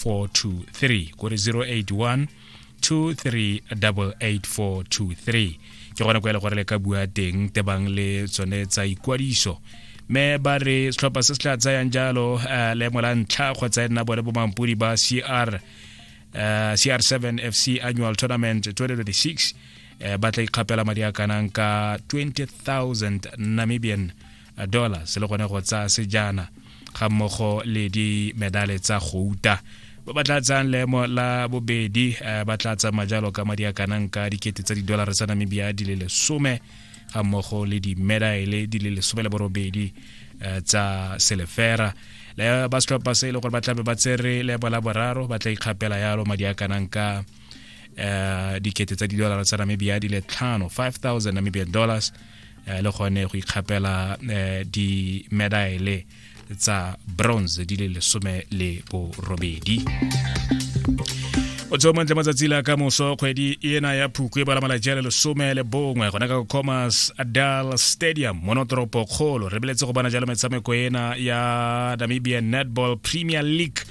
423, kore 081 2388423 ke gone kwa e le gore le ka bua teng tebang le tsone tsa ikwadiso. Mme ba re setlhopha se se tla tsayang jalo leemo la ntlha kgotsa e nna bone bomampodi ba CR7 FC Annual Tournament 2026, ba tla ikgapela madi a kanang ka 20,000 Namibian dollars le gone go tsaya sejana ga mmogo le di-medale tsa gouta. Ba ba tla tsayang leemo la bobedi ba tla tsamaya jalo ka madi a kanang ka 10,000 tsa di-dollar tsa Namibia di le 10, ga mmogo le di-medale di le 18 tsa selefera. Le ba setlhopha se e le gore ba tlabe ba tsere leemo la boraro ba tla ikgapela yalo madi a kanang ka 10,000 tsa di-dollar tsa Namibia di le 5, 5000 Namibian dollars, le gone go ikgapela di-medale tsa bronze di le 18. O tsoa montle matsatsi la ka moso, kgwedi ena ya Phukwe e bala malatsi a le 11, gone ka Commerce Adal Stadium mono toropo kgolo, re beletse go bona jalo metshameko ena ya Namibian Netball Premier League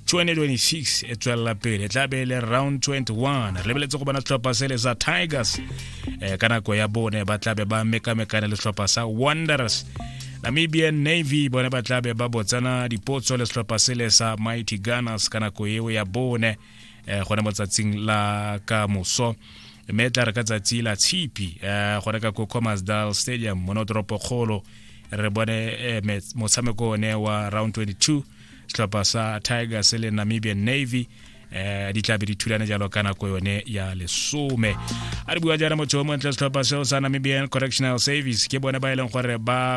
2026 e tswelela pele. Tla be le round 21. Re lebeletse go bona setlhopha sele sa Tigers ka nako ya bone ba tlabe ba mekamekane le setlhopha sa Wanderers. Namibian Navy bone ba tlabe ba botsana dipotso le setlhopha sele sa Mighty Gunners ka nako eo ya bone, gone mo tsatsing la ka moso. Mme tla re ka tsatsi la Tshipi, gone ka ko Khomasdal Stadium mono toropo kgolo, re bone motshameko one wa round 22, setlhopha sa Tigers le Namibian Navy di tlabe di thulane jalo ka nako yone ya 10. A re bua jaana, motho o montle, setlhopha seo sa Namibian Correctional Service ke bone ba e leng gore ba